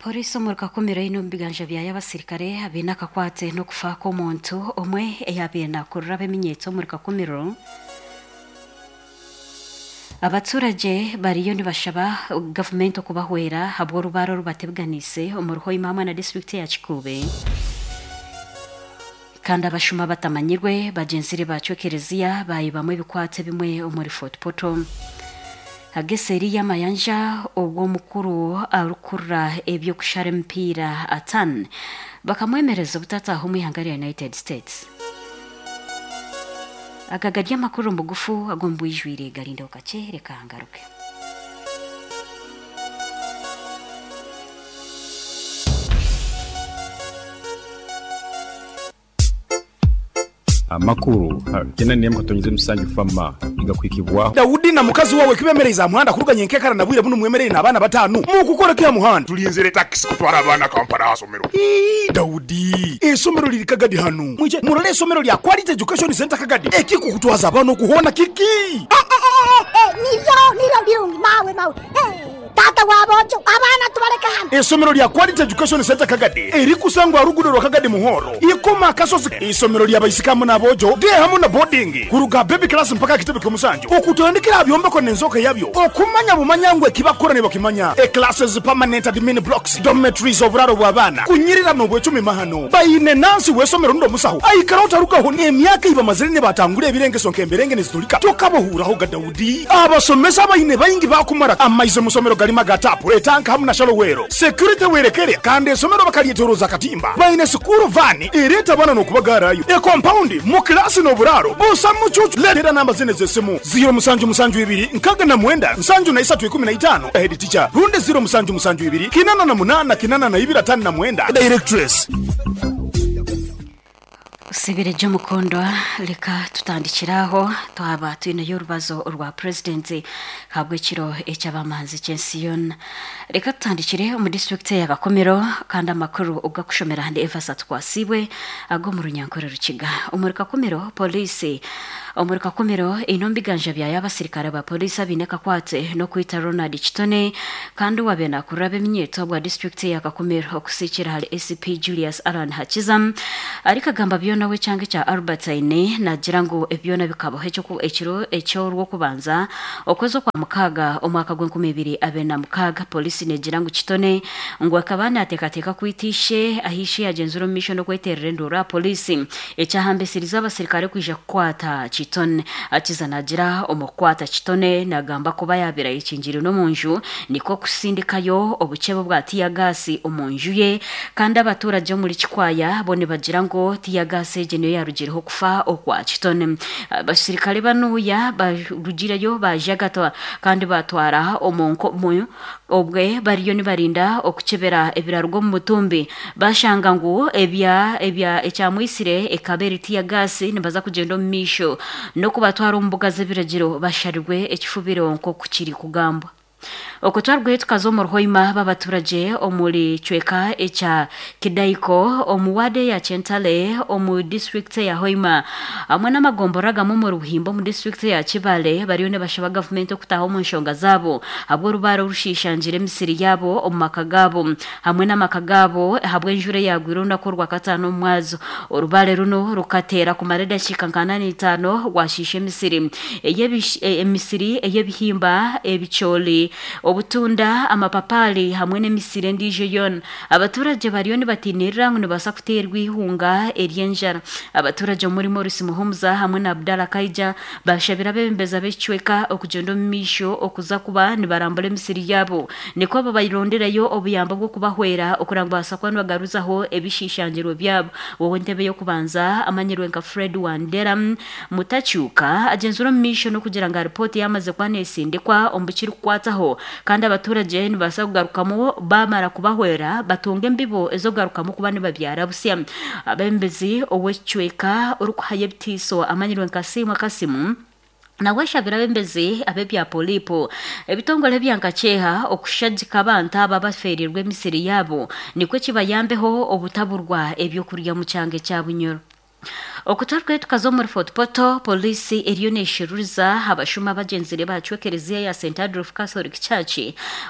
Poriisi omuri Kakumiro eine omu biganja byayo abasirikare abaine akakwate n'okufa kw'omuntu omwe eyaabaire naakurira ab'eminyeeto omuri Kakumiro. Abaturagye bariyo nibashaba gavumenti okubahwera ahabw'orubaare orubatebeganiise omuri Hoima hamwe na disiturikiti eya Kikuube. Kandi abashuma abatamanyirwe bagyenzire baacwa ekereziya baayibamu ebikwato ebimwe omuri Fort Portal. Ag'eseeri y'amayanja obwo omukuru arikukurira eby'okushara emipiira Atan bakamwemereza obutataaha omu ihanga rya United States. Aga gari amakuru omu bugufu ag'omu bwijwire garindeho kakye reka ngaruke. Amakuru Kyenani emu katonyeza emisanju Fama nigakuhikibwaho. Daudi na mukazi wawe kibemereize aha muhanda kuruga nyenkekara na bwire bunu mwemereire n'abaana batanu? Mukukora ki aha muhanda? Tulinzire takisi kutwara abaana Kampala aha somero. Ii, Daudi, eisomero liri Kagadi hanu. Mwije murole eisomero lya Quality Education Centre Kagadi. Ekikukutwaza abaana oku hoona kiki? Nibyo, nibyo birungi mawe, mawe. Taata wa boojo, abaana tubaleke hanu. Eisomero lya Quality Education Centre Kagadi erikusangwa aha ruguudo rwa Kagadi Muhoro, Ikoma Akasozi. Eisomero lya baisiki hamu n'aboojo, day hamu na boarding, kuruga aha baby class mpaka aha kitebe ky'omusanju, okutandikira aha byombeko n'enzooka yabyo, okumanya bumanya ngu eki bakukora nibakimanya, e classes, permanent admin blocks, dormitories, oburaaro bw'abaana, kunyirira n'obwecumi mahano. Baine nansi w'eisomero rundi omusaho aikaraho tarugaho n'emyaka ei bamazire nibatangura ebirengeso nk'emberenge niziturika tokabahuuraho ga Daudi. Abasomesa abaine baingi baakumara amaizi omu somero garimu aga taapu, etanka hamu na shalowero. Security werekere kandi esomero bakaryetoroza akatimba. Baine sikuuru vaani ereeta abaana n'okubagaarayo. Ekompaundi, mu kilaasi n'oburaaro busa mucuucu. Leetera namba zinu ez'esimu, ziiro musanju musanju ibiri 69 73 15, Head teacher, rundi ziiro musanju musanju ibiri 88 82 59, Directress. Osibire gye omukundwa, reka tutandikire aho twaba twineyo orubazo rwa Purezidenti ahabw'ekiro eky'abamanzi ky'ensi yoona. Reka tutandikire omu disiturikiti eya Kakumiro kandi amakuru ogakushomera ndi Evas Atukwasiibwe ag'omu Runyankore Rukiga. Omuri Kakumiro, Pooriisi omuri Kakumiro eine omu biganja byayo abasirikare ba Pooriisi abaine akakwate n'okwita Ronald Kitone kandi owaabaire naakurira ab'eminyeeto bwa disiturikiti eya Kakumiro okusiikira ahari ACP Julius Allan Hakiza arikagamba byona ow'ekyanga ekya Albertine naagira ngu ebi byona bikabaho ekiro eky'orwokubanza okwezi okwamukaaga omwaka gw'enkumi ibiri abiri na mukaaga. Pooriisi neegira ngu Kitone ngu akaba naateekateeka kwita ishe ahu ishe yaagyenzire omu maisho n'okweteerera enduuru aha pooriisi ekyahambisirize abasirikare kwija kukwata Kitone. Hakiza naagira omu kukwata Kitone naagamba kuba yaabaire ayekingiriire n'omu nju nikwo kusindikayo obukyebe bwa tiyagaasi omu nju ye kandi abaturagye omuri Kikwaya bo nibagira ngu tiyagaasi egi niyo yaarugireho okufa okwa Kitone. Abasirikare banuuya barugireyo baajagatwa kandi baatwara omu nkomo obwe bariyo nibarinda okukyebera ebiraruga omu mutumbi baashanga ngu ebya ebya ekyamwitsire ekaba eri tiyagaasi nibaza kugyenda omu maisho n'okubatwara omu mbuga z'ebiragiro basharirwe ekifubiro nk'oku kirikugambwa. Okwo twarugayo tukaza omu Ruhoima b'abaturagye omuri kicweka ekya Kidaiko omu waadi eya Kyentale omu disiturikiti eya Hoima hamwe n'amagomborora agamwe omuri Buhimba omu disiturikiti eya Kibale bariyo nibashaba gavumenti okutaaha omu nshonga zaabo ahabw'orubaare orushiishangire emisiri yaabo omu maka gaabo hamwe n'amaka gaabo ahabw'enjura eyaagwire orunaku orwakataano omu mwazo. Orubaare runu rukateera kumara edakiika nka ana n'eitaano rwashiisha emisiri emisiri ey'ebihimba, ebicoori, obutunda, amapapaari hamwe n'emisiri endiijo yoona. Abaturagye bariyo nibatiinirira ngu nibabaasa kuteerwa eihunga ery'enjara. Abaturagye omuri Maurice Muhumuza hamwe na Abdallah Kaija baashabire abeebembezi ab'ekicweka okugyenda omu maisho okuza kuba nibarambura emisiri yaabo Nikwo babarondereyo obuyambi obw'okubahwera okureba ngu babaasa kuba nibagaruzaho ebishiishangirwe byabo. Ow'entebe y'okubanza amanyirwe nka Fred Wandera Mutakyuka agyenzire omu maisho n'okugira ngu aripooti yaamaze kuba nesindikwa omu bikirikukwataho kandi abaturagye nibabaasa kugarukamu baamara kubahwera batunga embibo ez'okugarukamu kuba nibabyara busya. Abeebembezi ow'ekicweka orikuhayo ebitiiso amanyirwe nka Siimwa Kasimu, Nawe ashabire abembezi ab'ebya Polipo, ebitongore ebya Nkakyeha okushagika abantu aba abafeereirwe emisiri yaabo nikwo kibayambeho obutaburwa ebyokurya omu kyanga ekya Bunyoro. Okutwarukayo tukaza omuri Fort Portal, Pooriisi eriyo nesheruriza abashuma abagyenzire bahacwa ekereziya ya St Adolf Catholic Church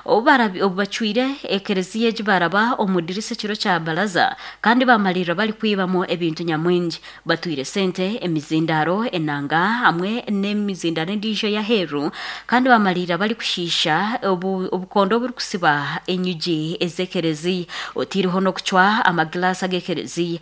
obu bacwire ekereziya egi baraba omu dirisa ekiro kya baraza kandi bamariirira barikwibamu ebintu nyamwingi. Batwire sente, emizindaaro, enanga hamwe n'emizindaaro endiijo ey'aheeru kandi bamariirira barikushiisha obukondo oburikusiba enyigi ez'ekereziya oteireho n'okucwa amagilaasi ag'ekereziya.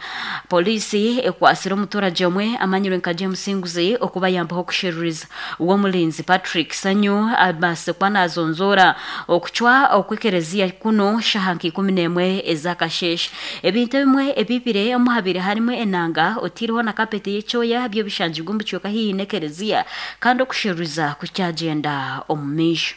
Pooriisi ekwatsire omuturagye omwe amanyirwe nka James Nguzi okubayambaho kusheruriza. W'omurinzi Patrick Sanyu abaasize kuba naazonzoora okucwa okw'ekereziya kunu shaaha nka 11 ez'akasheeshe. Ebintu ebimwe ebibire omu habaire harimu enanga oteireho na kapeti y'ekyoya byo bishangirwe omu bicweka haihi n'ekereziya kandi okusheruriza kukyagyenda omu maisho.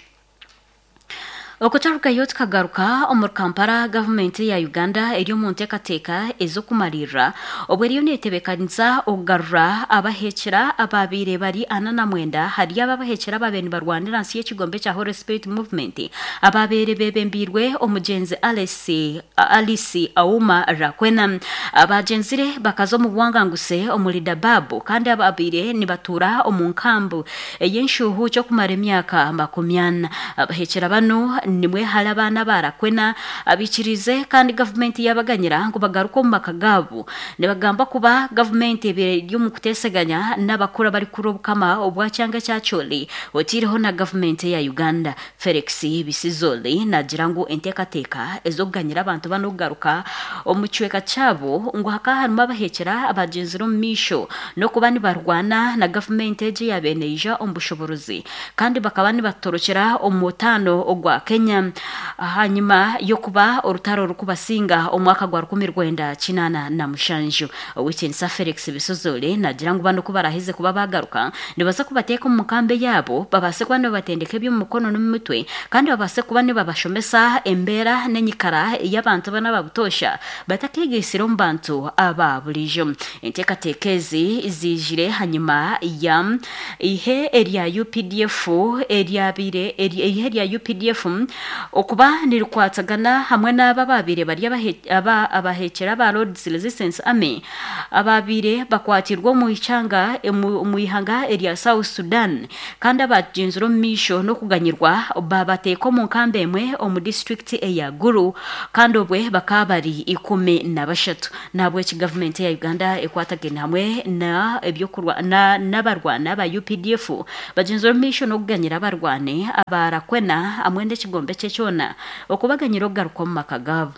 Okutarugayo tukagaruka omuri Kampala, gavumenti ya Uganda eri omu nteekateeka ez'okumariirira obwo eriyo netebeekanisa okugarura abahekyera abaabaire bari 49 ahari abo abahekyera abaabaire nibarwanira ahansi y'ekigombe ekya Holy Spirit Movement abaabaire beebembeirwe omugyenzi Alice Alice Auma Rakwena. Abagyenzire bakaza omu buwanganguse omuri Dabaab kandi abaabaire nibatuura omu nkambu ey'enshuuhuuki okumara emyaka 40. Abahekyera banu nimwe hari abaana aba Rakwena abaikiriize kandi gavumenti yaabaganyira ngu bagaruke omu maka gaabo. Nibagamba kuba gavumenti ebaire eri omu kuteeseganya n'abakuru abarikukura obukama obwa kyanga ekya Acholi oteireho na gavumenti eya Uganda. Felix Bisizoli naagira ngu enteekateeka ez'okuganyira abantu banu kugaruka omu kicweka kyabo ngu hakaba harimu abahekyera abagyenzire omu maisho n'okuba nibarwana na gavumenti egi eyaabaire neija omu bushoboorozi kandi bakaba nibatorokyera omu mutaano ogwa Kenya ahanyima y'okuba orutaro rurikubasinga omu mwaka gwa 1987. Ow'ekitinisa Felix Bisozole naagira ngu banu ku baraaheze kuba baagaruka, nibaza kubateeka omu nkambi eyaabo babaase kuba nibabatendeka eby'omu mikono n'omu mitwe kandi babaase kuba nibabashomesa embeera n'enyikara ey'abantu banu aba butoosha batakeegaitsire omu bantu aba buriijo. Enteekateeka ezi ziijire hanyima ya eihe erya updf eryabaire eihe rya updf okuba nirikwatagana hamwe n'abo abaabaire bari abahekyera aba Lord's Resistance Army abaabaire bakwatirwe omu ikyanga omu ihanga erya South Sudan kandi abagyenzire omu maisho n'okuganyirwa baabateeka omu nkambi emwe omu disiturikiti eya Gulu kandi obwe bakaba bari 13. Nahabweki gavumenti eya Uganda ekwatagaine hamwe na ebyokurwa na n'abarwani aba updf bagyenzire omu maisho n'okuganyira abarwani aba Rakwena hamwe n'ekigombe kye kyona okubaganyira okugaruka omu maka gaabo.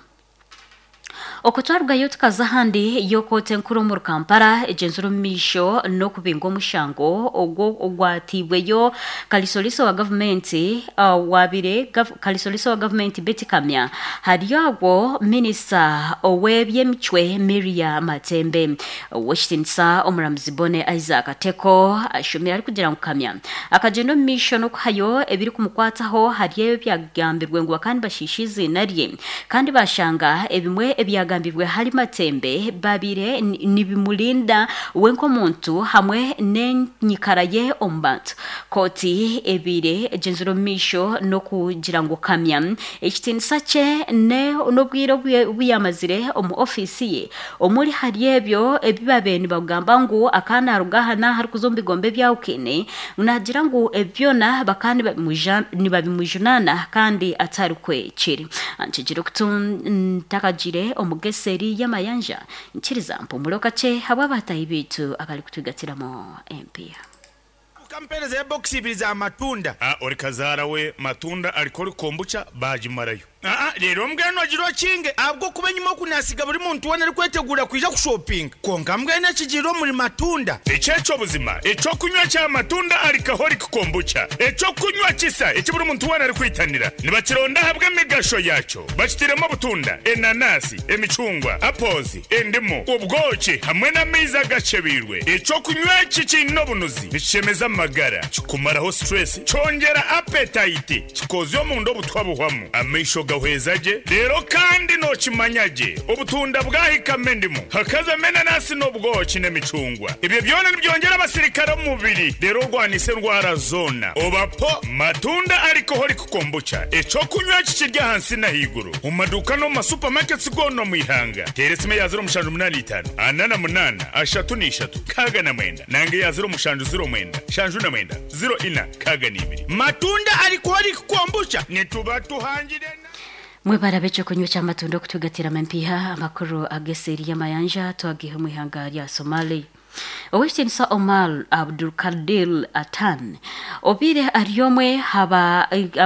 Okwo twarugayo tukaza ahandi yo kooti enkuru omuri Kampala egyenzire omu maisho n'okubinga omushango ogwo ogwatiibweyo Kalisoliso wa gavumenti owaabaire Kalisoliso wa gavumenti Beti Kamya hariyo agwo minisita ow'eby'emicwe Miria Matembe. Ow'ekitiinisa Omuramuzi Bonne Isaac Teko ashomire arikugira ngu Kamya akagyenda omu maisho n'okuhayo ebirikumukwataho ahari ebyo ebyagambirwe ngu bakaba nibashiisha eiziina rye kandi baashanga ebimwe ebyagambirwe ahari Matembe babaire nibimurinda we nk'omuntu hamwe n'enyikara ye omu bantu. Kooti ebaire egyenzire omu maisho n'okugira ngu Kamya ekitiinisa kye n'obwire obu yaamazire omu ofiisi ye Omuri hari ebyo ebi baabaire nibagamba ngu akaba naaruga aha n'aha arikuza omu bigombe ebyahukene, ngu naagira ngu ebi byona bakaba nibabimujunaana kandi atarikwe kiri. Nkigire okutu ntakagiire omu geseeri y'amayanja, nkiriza mpumure kakye habw'abaataahi baitu abarikutwigatiramu empiiha. Ukampeereza ebokisi ibiri za matunda. A Ori kazaara we matunda ariko ori kombucha baagimarayo. Aa Reero mbwenu ogire okinge ahabw'okuba enyima oku naasiga buri muntu weena arikweteguura kwija kushopinga. Kwonka mbwenu ekigiire omuri matunda. Eki eky'obuzima, eky'okunywa kya matunda Alcoholic Kombucha, eky'okunywa kisa eki buri muntu weena arikwitanira. Nibakironda ahabw'emigasho yaakyo. Bakitairemu obutunda, enanasi, emicungwa, apples, endimu, obwoki hamwe n'amaizi agakyebeirwe. Eky'okunywa eki kiine obunuzi, nikishemeza amagara. amagara, kikumaraho stress, kyongyera appetite, kikozya omunda obutwa buhwamu, amaisho gahweza gye, reero kandi nookimanya gye obutunda bwahikamu endimu, hakazamu enanasi n'obwoki n'emicungwa. Ebyo byona nibyongyera abasirikare omu mubiri reero orwanise endwara zoona. Oba po Matunda Alcoholic Kombucha, eky'okunywa eki kiri ahansi n'ahaiguru omu maduuka n'omu ma supermarkets goona omu ihanga. Teera esimu eya 0785 48 33 69 nanga eya 0709 79 04 62. Matunda Alcoholic Kombucha nituba tuhangire na. Mwebare ab'ekyokunywa ky'amatunda okutugatiramu empiiha. Amakuru ag'eseeri y'amayanja twagaiha omu ihanga rya Somalia. Ow'ekitiinisa Omar Abdulkadir Atan obaire ari omwe aha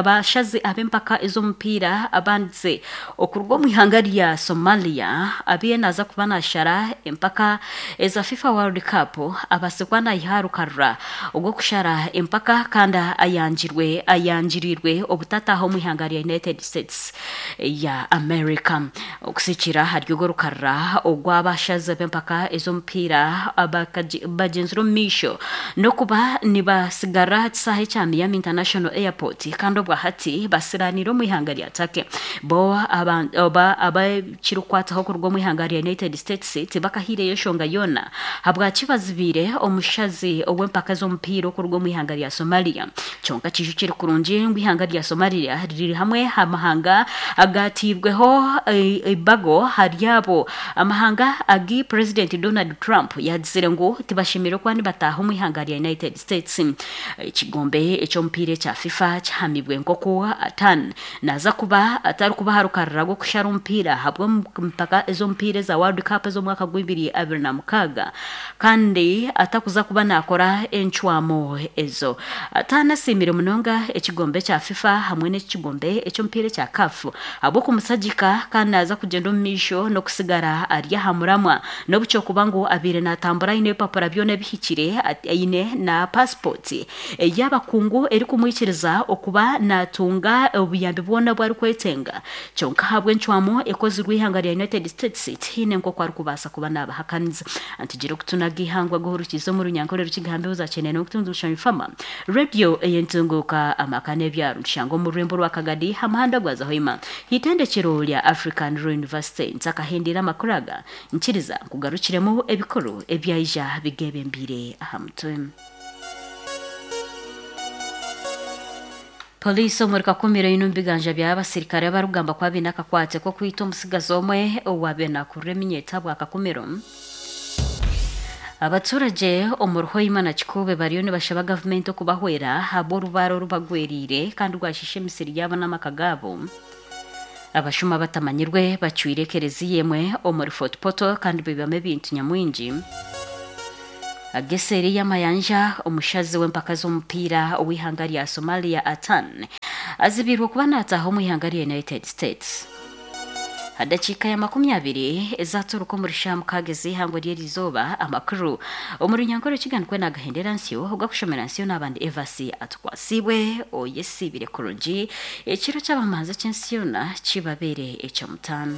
bashazi ab'empaka ez'omupiira abandize okuruga omu ihanga rya Somalia abaire naaza kuba naashara empaka eza FIFA World Cup abaase kuba naiha aha rukarara ogw'okushara empaka kandi ayangirwe ayangirirwe obutataaha omu ihanga rya United States ya America. Okusikira ahari orwo rukarara ogw'abashazi b'empaka ez'omupiira bagyenzire omu maisho n'okuba nibatsigarira aha kishaayi kya Miami International Airport kandi obwa hati basiraaniire omu ihanga rya Turkey. Bo abakirikukwataho kuruga omu ihanga rya United States tibakahaireyo enshonga yoona ahabwaki bazibiire omushazi ow'empaka ez'omupiira okuruga omu ihanga rya Somalia. Kyonka kijukire kurungi ngu eihanga rya Somalia riri hamwe aha mahanga agateirweho eibago ahari abo amahanga agu Purezidenti Donald Trump yaagizire ngu tibashemereire kuba nibataaha omu ihanga rya United States. Ekigombe eky'omupiira ekya FIFA kihamibwe nk'oku Atan naaza kuba atarikuba aha rukarara rw'okushara omupiira ahabw'empaka ez'omupiira eza World Cup ez'omwaka gw'ibiri abiri na mukaaga kandi atakuza kuba naakora encwamu ezo. Atan asiimire munonga ekigombe ekya FIFA hamwe n'ekigombe eky'omupiira ekya CAF ahabw'okumusagika kandi naaza kugyenda omu maisho n'okusigara ari aha muramwa n'obu kyokuba ngu abaire naatambura aine ebipapura byona ebihikire aine na pasipoti ey'abakungu erikumwikiriza okuba naatunga obuyambi bwona obu arikwetenga kyonka ahabw'encwamu ekozirwe eihanga rya United States tihaine nk'oku arikubaasa kuba naabahakaniza. Ntugire okutunaga eihangwe guhurukize omu Runyankore Rukiga mbeho za Kyenene n'okutunga Omushanyu Fama Radio ey'entunguuka amaka n'ebyaro nitushanga omu rurembo rwa Kagadi aha muhanda gwa Zahoima haitendekero rya African Law University. Ntakahendeire amakuru aga nkiriza nkugarukiremu ebikuru ebyaija bigebembeire aha mutwe. Poliisi omuri Kakumiro eine omu biganja byayo abasirikare abarikugamba ku abaine akakwate k'okwita omutsigazi omwe owaabaire naakurura eminyeeto ahabwa Kakumiro. Abaturage omuri Hoima na Kikuube bariyo nibashaba gavumenti okubahwera ahabw'orubaare orubagweriire kandi rwashiisha emisiri yaabo n'amaka gaabo. Abashuma batamanyirwe bacwire ekereziya emwe omuri Fort Portal kandi baibamu ebintu nyamwingi. Ag'eseeri y'amayanja, omushazi w'empaka z'omupiira ow'eihanga rya Somalia Atan azibiirwe kuba naataaha omu ihanga rya United States. Ha dakiika ya 20 ezaturuka omuri shaaha 6 ez'eihangwe ry'erizooba, amakuru omu Runyankore Rukiga nikwo naagahendera nsyo ogwakushomera nsyo n'abandi Evasi atukwasiibwe oyesiibire kurungi ekiro ky'abamanzi eky'ensi yoona kibabeere eky'omutaano.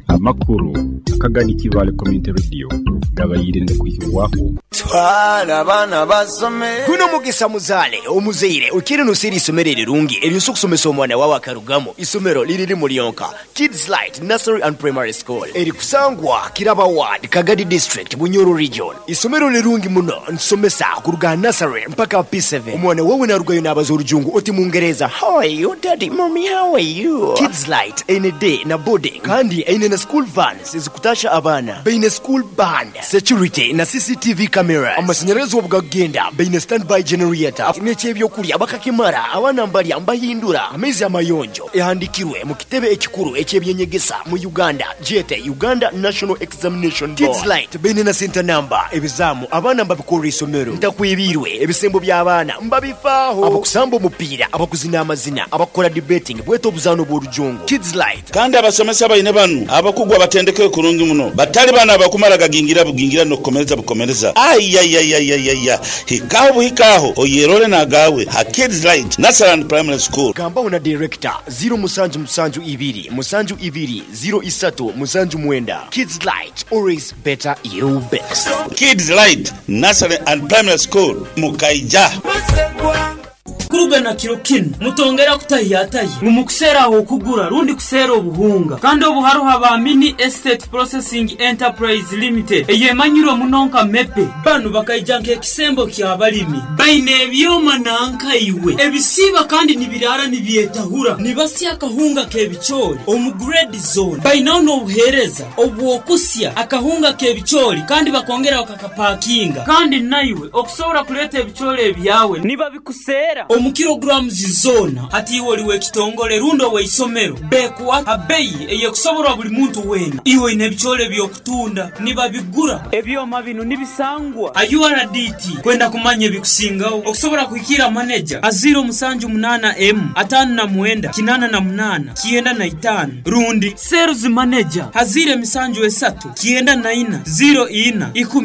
Amakuru akagani Kibaale Community Radio gabaire nigakwihibwaho. Twala abaana basome. Guno mugisa muzaale omuzaire okiire noseera eisomero erirungi eryosa okusomesa omwana wawe akarugamu. Isomero liri limu lyonka, Kids Light Nursery and Primary School erikusangwa Kiraba Ward, Kagadi District, Bunyoro Region. Isomero lirungi muno nitusomesa kuruga aha nursery mpaka P7. Omwana wawe narugayo nabaza orujungu oti mungereza How are you daddy, mummy how are you? Kids Light eine day na boarding kandi eine na school vans ezikutasha abaana. Baine school band, security na CCTV cameras. Amasanyarazi obu gakugenda baine standby generator n'eky'ebyokurya bakakimara abaana mbarya mbahindura amaizi amayonjo. Ehandikirwe mu kitebe ekikuru eky'ebyenyegesa mu Uganda gyete Uganda National Examination Board. Kids Light baine na center number, ebizaamu abaana mbabikorera isomero. Ntakwebiirwe, ebisembo by'abaana mbabifaaho. Abakusamba omupiira, abakuzina amazina, abakukora debating bwete obuzaano bw'orujungu. Kids Light. Kandi abasomesa baine banu abakugu abatendekeirwe kurungi muno, batali bano abakumara gagingira bugingira n'okukomereza bukomereza. Aye. Ayayayayaya! Hika aho buhika aho oyerore n'agaawe ha Kids Light Nursery and Primary School. Gambaho na Director, ziro musanju musanju ibiri musanju ibiri ziro isatu musanju mwenda. Kids Light, always better you best. Kids Light Nursery and Primary School, Mukaija. Kuruga na kiro kinu, mutongera kutahiyatahya ngu mukuseera ah'okugura rundi kuseera obuhunga. Kandi obu haroho aba Mini Estate Processing Enterprise Limited eyemanyirwe muno nka MEPE. Banu bakaija nk'ekisembo ky'abalimi. Baine ebyoma nanka iwe ebisiiba kandi nibiraara nibyetahura. Nibasya akahunga k'ebicoori omu grade zoona. Bainaho n'obuheereza obw'okusya akahunga k'ebicoori kandi bakongera bakakapakinga. Kandi naiwe okusobora kuleeta ebicoori ebyawe nibabikuseera omu kilograms zoona. Hati iwe oli w'ekitongole rundi ow'eisomero, beekuha ha beyi ey'ekusoborwa buli muntu weena. Iwe oine ebicoori eby'okutunda, nibabigura. Ebyoma binu nibisangwa ha URDT. Kwenda kumanya ebikusingaho, okusobora kuhikiira maneja ha ziiro musanju munaana emu, 59 88 95 rundi seeruzi maneja ha ziiro emisanju esatu, 94, 04 10.